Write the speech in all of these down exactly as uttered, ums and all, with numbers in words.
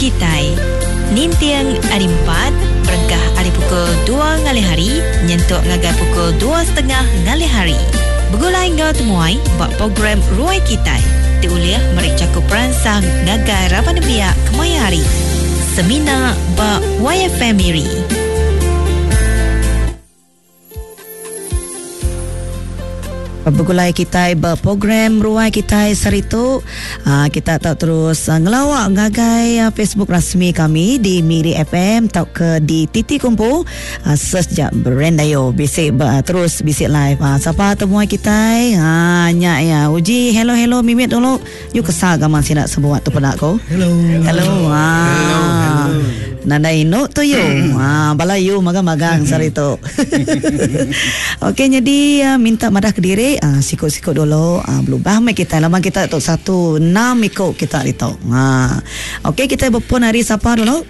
Kitai. Ninting hari empat, berengkah hari pukul dua ngalih hari, nyentuk ngagai pukul dua setengah ngalih hari. Begulai enggau temuai ba program Ruai Kitai. Diulih meri cakup peransang ngagai raban nembiak kemaya hari. Semina ba Y F M Miri. Begulai kita berprogram Ruai Kitai Seritu. Uh, kita tak terus uh, ngelawak ngagai uh, Facebook rasmi kami di Miri F M atau ke di Titi Kumpu. Uh, search je Brendayo bisik uh, terus bisik live. Uh, siapa temuai kita? Ha nyak ya. Uji hello hello mimit dulu. You kesal gaman sinak sebuat tu penak ko. Hello. Hello. Ha. Hello. Hello. Nanda inuk tu you. Ha bala you magang-magang seritu. Okey jadi uh, minta madah ke diri. Ah, sikut-sikut dulu ah, berubah mai kita lama kita tu satu enam ikut kita itu. Ha. Okey kita berpun hari siapa dulu?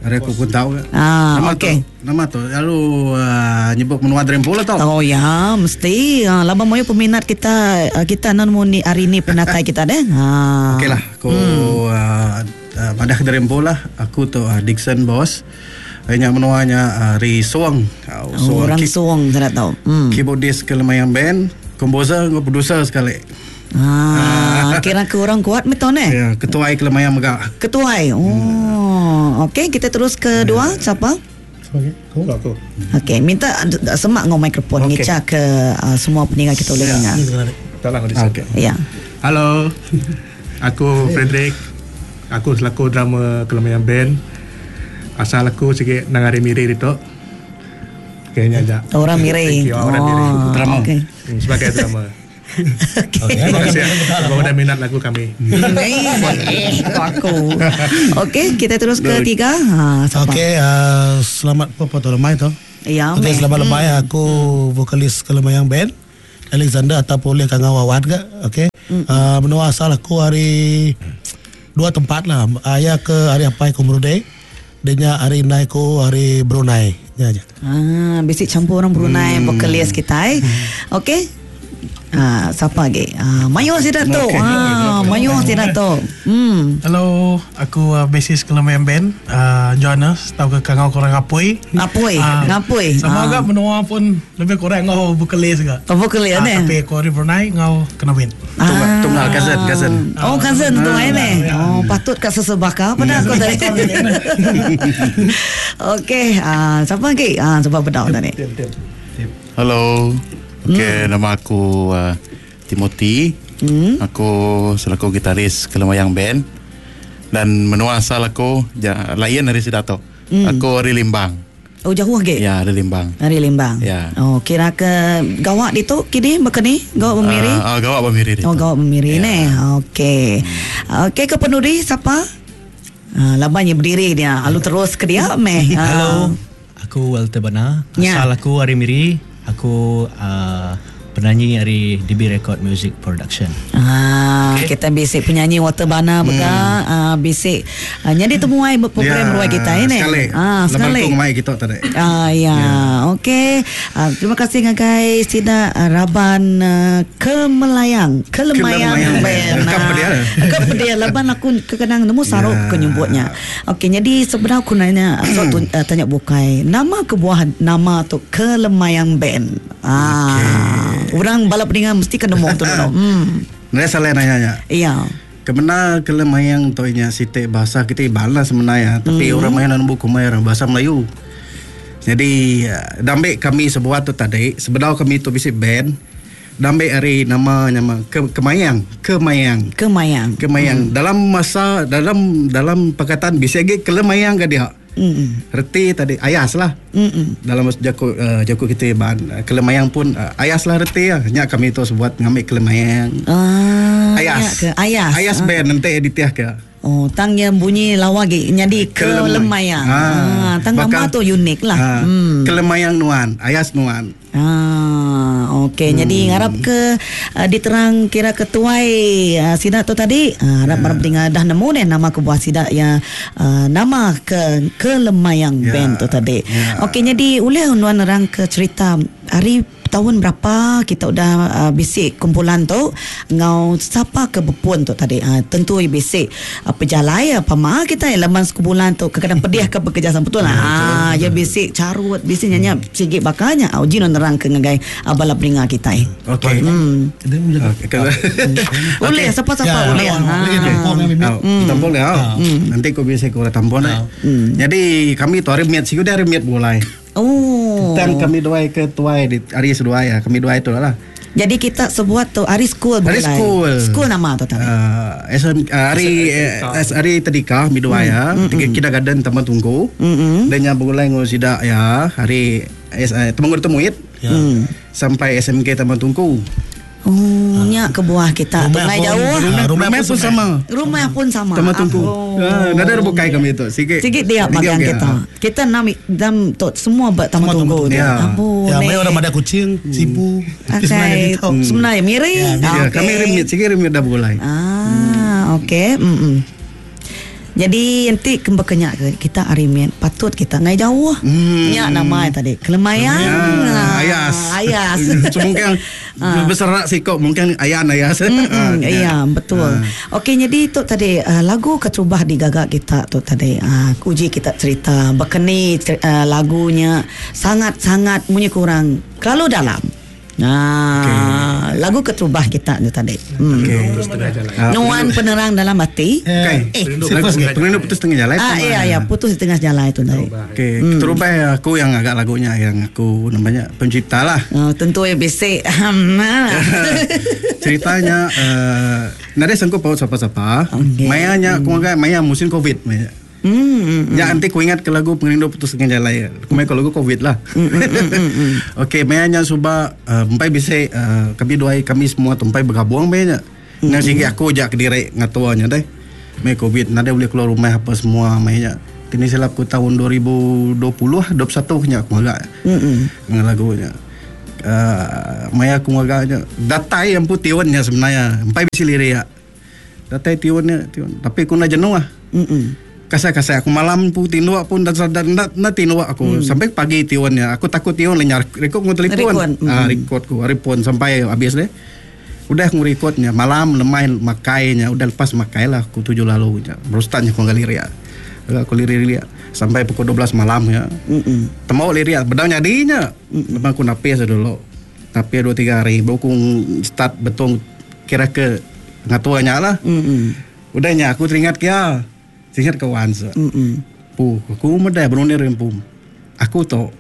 Hari aku pun tahu. Ah, nama okey. Tu, nama tu lalu uh, nyebut menua Drempo lah tau. Oh ya, mesti. Ha, lama moyo peminat kita kita nan mu ni hari ni penatai kita deh. Ha. Okeylah, aku hmm. uh, uh, madah ke Drempo lah. Aku tu uh, Dixon Boss. Hanya menuanya hari Suang. Oh, Suang. Orang Suang saya tak tahu. Hmm. Keyboardist Kelemayang Band, komposer dengan producer sekali. Ah, kira ke orang kuat betul eh? Ya, ketuai Kelemayang mega. Ketuai. Oh, hmm. Okey, kita terus ke dua, ya. Siapa? Okey, aku aku. Okey, minta semak ngau mikrofon okay. Ngeca ke uh, semua pendengar kita boleh dengar. Tolong di Okey. Ya. Halo. Aku Frederick. Aku selaku drummer Kelemayang Band. Asal aku sikit nang hari Miri itu. Kayaknya aja. Orang Miri. You, orang Miri. Oh, Drama. Okay. Sebagai drama. Okey. Terima kasih. Bapak dah minat lagu kami. Eh, aku. Okey, kita terus ke tiga. Ha, okey, uh, selamat apa tu lemai tu. Ya. Okey, selamat lemai. Aku vokalis Kelemayang Band. Alexander atau boleh kangau awat ke. Okey. Mm. Uh, menua asal aku hari dua tempat lah. Ayah ke hari apa aku Brunei. Dia hari Naiko hari Brunei. Ya aja. Ah, bisik campur orang Brunei hmm. vokalis kita. Eh. Hmm. Okey. Ah, siapa lagi? Ah, Mayo tidak tu. Okay. Ah, Mayo tidak tu. Hmm. Hello, aku uh, bassist Kelemayang Band, uh, Johannes, tahu ke kangau korang Apoi. Apoi, uh, ngapoi. Sama ah. agak menua pun lebih kurang ngau vokalis juga. Oh, vokalis uh, ni. Tapi aku hari Brunei ngau kena win. Ah. Tunggal cousin, cousin. Oh, cousin tu ah, ni. Oh, patut kat sesebaka pada aku tadi. Okey, ah, siapa lagi? Ah, sebab bedau tadi. Hello. Okey, hmm. nama aku uh, Timothy. Hmm. Aku selaku gitaris Kelemayang Band dan menua asal aku ja, lain dari Sidato. Hmm. Aku dari Limbang. Oh, jauh lagi? Ya, dari Limbang. Dari Limbang. Ya. Oh, kira ke gawak itu kini bekeni gawak bermiri? Uh, uh, gawak bermiri itu. Oh, gawak bermiri ya. ni. Okey. Hmm. Okey, ke penuri siapa? Uh, labannya berdiri dia. Lalu terus ke dia meh. Hello. Aku Walter Bana. Ya. Asal aku hari Miri. Aku uh, penyanyi dari D B Record Music Production. Ah, okay. Kita bisik penyanyi Walter Bana hmm. bega, uh, bisik uh, jadi temuai program ya, ruai kita ini. Sekali. Ah, sekali. Lepas tu kita tadi. Ah, ya. Ya. Okey. Uh, terima kasih ngagai sida uh, Raban uh, Kemelayang, Kelemayang Band. Kep dia. Kep dia laban aku kekenang nemu saruk Ya. ke nyebutnya. Okey, jadi sebenarnya aku nanya so, tu, uh, tanya bukai. Nama kebuah nama tu Kelemayang Band. Ah. Okey. Orang balap pendengar mesti kena nemu tu dulu. Hmm. Naya salah nanya. Ya. Kemana Kelemayang tu nya sitik bahasa kita Iban lah sebenarnya, tapi Hmm. orang main nemu kumai orang bahasa Melayu. Jadi dambek kami sebuah tu tadi, sebenarnya kami tu bisik band. Dambek hari nama nama ke, Kemayang, Kemayang. Kemayang. Kemayang. Hmm. Dalam masa dalam dalam perkataan bisik lagi Kelemayang ke dia. Hmm. Reti tadi ayas lah. Hmm. Dalam jaku uh, jaku kita Iban Kelemayang pun uh, ayas lah reti lah. Nyak kami tu sebuat ngambil Kelemayang. Ah, Ayas. Ke ayas. Ayas Ah. band nanti edit ke. Oh, tang yang bunyi lawa ge jadi Kelemayang. Ah, tang nama tu unik lah. Ah, Hmm. Kelemayang nuan, ayas nuan. Ah, okey. Hmm. Jadi harap ke uh, diterang kira ketuai uh, sidak tu tadi. Uh, harap yeah. pendengar dah nemu deh nama kebuah sidak yang uh, nama ke Kelemayang Ya. Band tu tadi. Ya. Okey, jadi ulih nuan nerang ke cerita hari tahun berapa kita udah uh, bisik kumpulan tu ngau siapa ke bepun tu tadi. Uh, tentu bisik uh, pejalai apa ma kita leman sekumpulan tu kadang pedih ke bekerja sama betul lah. Ah ya bisik carut bisik nyanyi sikit bakanya. Ah uji nerang ke ngagai abala peninga kita. Okey. Hmm. Boleh siapa-siapa boleh. Tampung dia. Nanti kau bisa kau tampung dah. Jadi kami tu hari miat siku dah hari miat mulai. Oh. Dan kami dua ke tuai di hari sedua ya, kami dua itu lah. Jadi kita sebuat tu hari school hari school. School nama tu tadi. Uh, S M, uh, hari uh, hari tadika kami dua ya. Tiga kita garden Taman Tunggu. Dan yang bergulai ngurus sidak ya, hari uh, Temenggung Temuit. Sampai S M K Taman Tunggu. Oh, nya ke buah kita. Rumah jauh. Rumah, rumah, rumah pun sama. Rumah pun sama. Taman Tunggu. Ah, nada ada bukai kami itu. Sikit. Sikit dia bagian kita. Kita enam dam tot semua buat Taman Tunggu. Ya. Ya, mai orang ada kucing, sipu. Sebenarnya sebenarnya miring. Ya, kami remit sikit remit dah bergulai. Ah, okey. Hmm. Jadi nanti kembekenyak kita arimin patut kita ngai jauh. Hmm. Nyak nama tadi. Kelemayang. Ya, ayas. Ayas. So, mungkin berserak sikok mungkin ayan ayas. Mm, iya, betul. Okey, jadi tu tadi uh, lagu keterubah digagak kita tu tadi. Uh, uji kita cerita berkeni uh, lagunya sangat-sangat munyi kurang kalau dalam. Nah, okay. Lagu keterubah kita tu tadi. Hmm. Okey. Nuan penerang dalam hati. Okey. Eh, pengerindu putus tengah jalan. Ah, iya ya, putus di tengah jalan itu tadi. Okey, hmm. Keterubah aku yang agak lagunya yang aku namanya pencipta lah. Oh, tentu ya bisik. Ceritanya uh, nada sanggup paut siapa-siapa. Okay. Mayanya aku agak maya musim Covid. Maya. Hmm, ya nanti ku ingat ke lagu pengerindu putus tengah jalan. Aku main ke lagu Covid lah. Mm, mm, mm, mm, mm. Okey, mayanya suba uh, empai bisa uh, kami dua kami semua tempai bergabung mayanya. Mm, Nang sikit aku jak direk ngatuanya deh. Mai Covid nada boleh keluar rumah apa semua mayanya. Tini silap ku tahun dua ribu dua puluh dua puluh satu nya aku agak. Mm, mm. Lagunya. Uh, maya aku agaknya datai yang putih tiunnya sebenarnya. Empai bisa lirik ya. Datai tiunnya tiun. Tapi aku nak jenuh ah. Mm. Kasai-kasai aku malam pun tinua pun dan dan nak tinua aku hmm. sampai pagi tiunnya aku takut tiun lenyar rekod ku telefon hmm. ah rekod ku repon sampai habis deh udah aku rekodnya malam lemai makainya udah lepas makai lah aku tujuh lalu baru startnya aku ngali ria aku lirik-lirik sampai pukul dua belas malam ya mm-mm. Temau lirik bedau nyadinya memang aku napis dulu napis dua tiga hari baru aku start betul kira ke ngatuanya lah mm-mm. Udahnya aku teringat kia teringat kawan se. Mm-mm. Puh, aku medai berunir rempum. Aku tu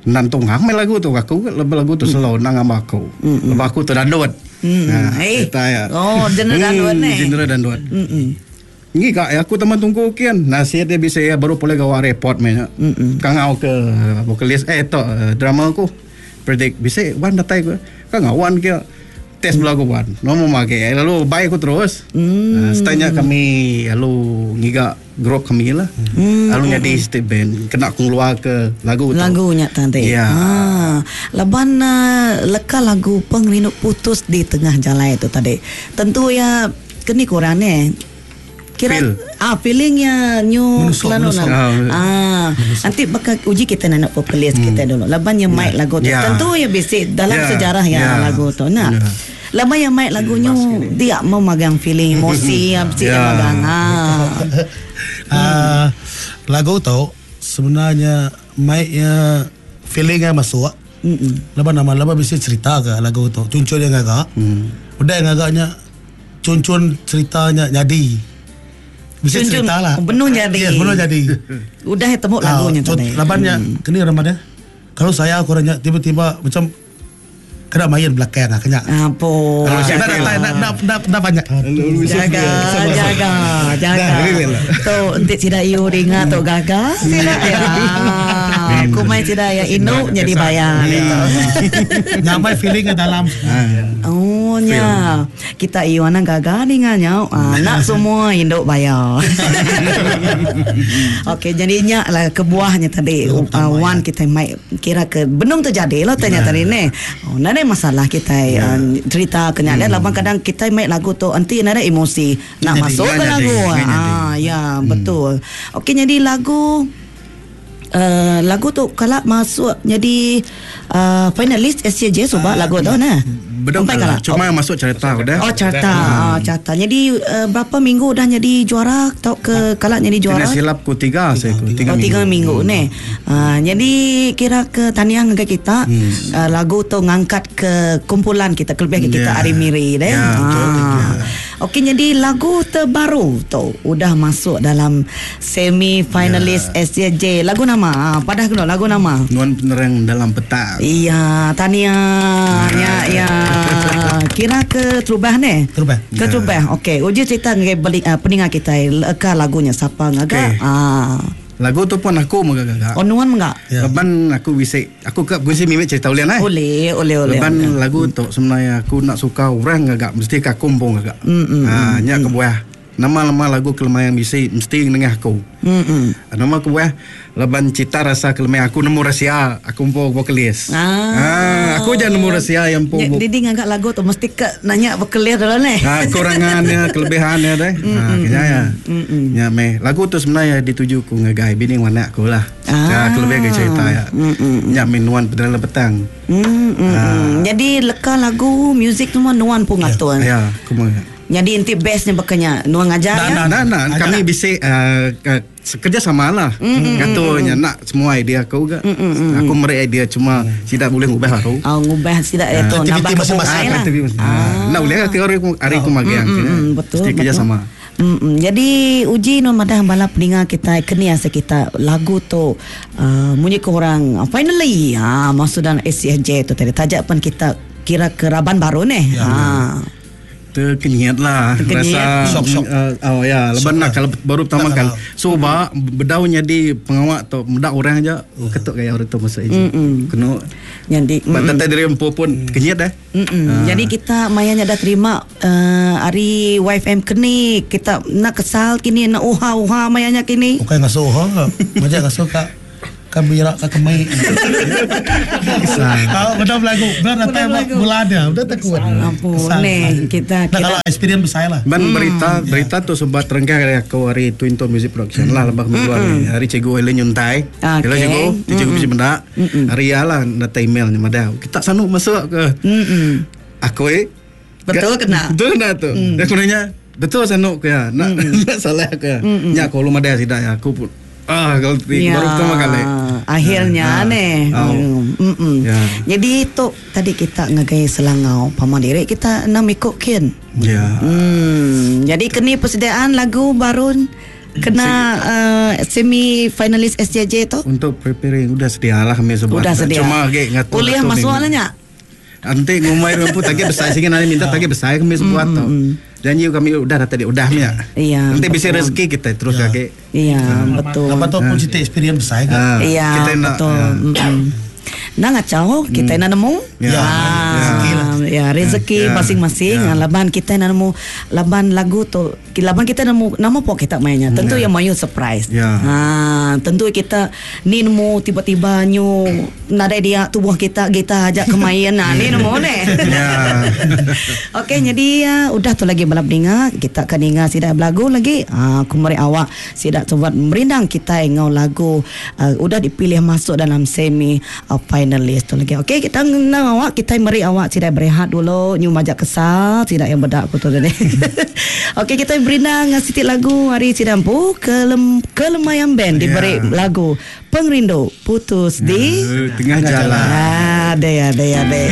nantung hang main lagu tu aku lebih lagu tu slow nang sama aku. Mm-mm. Lepas aku tu dandut. Mm. Nah, Eh. eta ya. Oh, genre dandut ni. Genre dandut. Mm-mm. Ngi kak aku teman tunggu kian. Nasihat dia bisa ya baru boleh gawa report meh. Mm-mm. Kangau ke vokalis eh tu drama aku. Predict bisa wan datai ku. Kangau wan kia tes lagu wan. Nomo make lalu baik aku terus. Mm. Uh, setanya kami lalu ngiga grup kami lah. Mm. Lalu jadi state band kena aku keluar ke lagu tu. Lagunya tadi. Ya. Ha, laban uh, leka lagu pengerindu putus di tengah jalan itu tadi. Tentu ya keni kurang ni. Kira Feel. ah feelingnya new Menusuk, kelanu menusuk. lah. Ah, nanti bakal uji kita nak vokalis hmm. kita dulu. Laban yang mic lagu tu. Ya. Tentu ya basic dalam Ya. sejarah ya Ya. lagu tu. Nah. Ya. Laban yang mic lagunya dia memegang feeling emosi yang mesti dia Ya. megang. Ah. Ah, lagu tu sebenarnya mic-nya feelingnya masuk. Mm-mm. Lepas nama lepas bisa cerita ke lagu tu. Cuncun yang agak. Hmm. Udah yang agaknya cuncun ceritanya jadi. Bisa Cuncun, cerita lah. benuh jadi. Yes, benuh jadi. Udah temu lagunya Ah, tadi. Labannya kena ramai dia. Kalau saya aku orangnya tiba-tiba macam kena main belakang lah kena. Apa? Kalau saya nak nak nak nak nak banyak. Jaga, jaga, jaga. Dah, real lah. Tu entik tidak iu ringa tu gaga tidak ya. Aku main tidak ya inu jadi bayar gitu. Nyamai feeling ke dalam. Oh nya. Kita iu anak gaga ringanya. Ah, nak semua induk bayar. Okey, jadinya lah kebuahnya tadi uh, wan kita mai kira ke benung terjadi lah tanya tadi ni. Oh, nada masalah kita uh, cerita kena hmm. Laban kadang kita mai lagu tu nanti nada emosi nak Jadi, masuk ke nggak lagu. jadi, nggak jadi. Ah, ya, betul. Okey, jadi lagu uh, lagu tu kalau masuk jadi uh, finalis S C J suba lagu tu nah. Bedong kalah. Cuma oh. masuk cerita udah. Oh carta, hmm. oh, carta. Jadi uh, berapa minggu dah jadi juara atau ke kalak jadi juara? Kena silap ku tiga saya ku. Tiga oh, minggu. Tiga minggu hmm. ni. Uh, jadi kira ke taniang ke kita hmm. uh, lagu tu ngangkat ke kumpulan kita kelebihan ke kita yeah. Ari Miri deh. Yeah, betul, yeah. Okey, jadi lagu terbaru tu udah masuk dalam semi finalis yeah. S C J. Lagu nama, padah kena lagu nama. Nuan Penerang Dalam Petang. Iya, tania. Ya, ya. Kira ke terubah ni? Terubah. Ke terubah. Okey, uji cerita ngagai beli uh, peninga kita leka lagunya siapa ngaga? Okay. Ah. Lagu tu pun aku menggak-gak. Oh, nuan menggak? Ya. Leban aku bisa aku ke gungsi mimik cerita ulian eh. Boleh, boleh, boleh. Leban lagu tu sebenarnya aku nak suka orang gagak mesti ke aku pun gagak. Mm, mm, ha, nyak mm. kebuah. Nama-nama lagu Kelemayang bisi mesti nengah aku. Mm. Nama kebuah leban cita rasa Kelemayang aku nemu rahsia aku pun vokalis. Ah. Ah, aku jangan nemu rahsia yang pun. Jadi ngagak lagu tu mesti ke nanya vokalis dulu ni. Ha, kekurangannya, kelebihannya deh. Mm, Ha, kaya ya. Mm, Ya meh. Lagu tu sebenarnya dituju ku ngagai bini wanak aku lah. Ah. Ya, kelebihan ke cerita ya. Mm, Nyak minuan pedalam petang. Mm, mm, Ah. mm. Jadi leka lagu muzik tu mah nuan pun ngatur. Ya, aku mah. Jadi inti bestnya bakanya nuan ngajar Nah, ya. nah, nah, nah. Kami bisa uh, kerja sama lah. Mm, Katanya nak semua idea aku juga. Mm, Aku meri idea cuma tidak boleh ngubah baru. Oh, ngubah tidak itu nambah masing-masing. lah. Aktiviti masing-masing. Nah, boleh ke hari hari aku magiang. Mm, mm, betul. Mesti kerja betul. sama. Mm, mm. Jadi uji non madah bala peninga kita kini asa kita lagu tu uh, munyi ke orang uh, finally ha masuk dalam S C J tu tadi tajak pun kita kira keraban baru ni. Ya, Ha. Terkenyat lah. Terkenyat. Rasa Sok, sok. Uh, oh ya, leban nak kalau baru pertama Tak kali. kalau. So ba bedaunya di pengawak tu mendak orang aja ketuk gaya orang tu masa ini. Kena Jadi mm, Batat dari empu pun kenyat dah. Mm-mm. Jadi kita mayanya dah terima uh, hari Y F M kini kita nak kesal kini nak uha-uha mayanya kini. Bukan ngasuh ha. Macam ngasuh kak kan birak kak kemai. Kalau benar lagu, benar datang bulan dia, udah tak kuat. Ampun ni kita Nah, kalau kira experience besar lah. Ban berita berita tu sebab terengkah dari aku hari Twin Tone Music Production lah lebah keluar ni. Hari cikgu Helen nyuntai. Okey. Hello cikgu, cikgu bisi benda. Hari ya lah datang email ni madah. Kita sanu masuk ke. Mm-mm. Aku eh Betul kena? Betul kena tu. Dia aku nanya, betul sanu ke ya? Nak nak salah ke ya? Nya aku lu madah sidak ya aku pun. Ah, kalau Ya, baru pertama kali. Akhirnya Ah, nih. ah. Mm, mm. Ya. Jadi tu tadi kita ngagai Selangau paman diri kita enam ikut kin. Ya. Hmm, jadi kini persediaan lagu baru kena uh, semi finalis S J J tu. Untuk preparing udah sedia lah kami sebab. Udah sedia. Cuma ge ngatur. Kuliah masuk lah nya. Nanti ngumai rumput tagi besar sini nanti minta tagi besar kami sebuat tu. Janji kami udah dah tadi udah ya. Iya, Nanti bisa betul. rezeki kita terus Ya. kaki. Iya, betul. Lepas tu pun cerita experience besar kan. Ah, Iya, kita nak, betul. ya. Mm-mm. Nah ngacau kita nak nemu. Ya. Ah, Rezeki lah. Ya, rezeki Ya. masing-masing. Ya. Ah, Laban kita nak nemu laban lagu tu laban kita nemu nama pok kita mainnya. Tentu yang mayu surprise. Ya. Ah, tentu kita ni nemu tiba-tiba nyu nadai dia tubuh kita kita ajak ke main. Nah, ni nemu ni. Ya. Okey, jadi uh, udah tu lagi balap dengar, kita akan dengar sidak belagu lagi. Ah, aku meri awak sidak sobat merindang kita ngau lagu uh, udah dipilih masuk dalam semi uh, finalis tu lagi. Okey, kita ngau awak kita meri awak sidak berehat dulu, nyu majak kesal, sidak yang bedak aku tu tadi. Okey, kita berindang sitik lagu hari sidampu kelem Kelemayang Band diberi Ya. lagu Pengrindu Putus di Eh, Tengah jalan. Ada ya, ada ya, ada.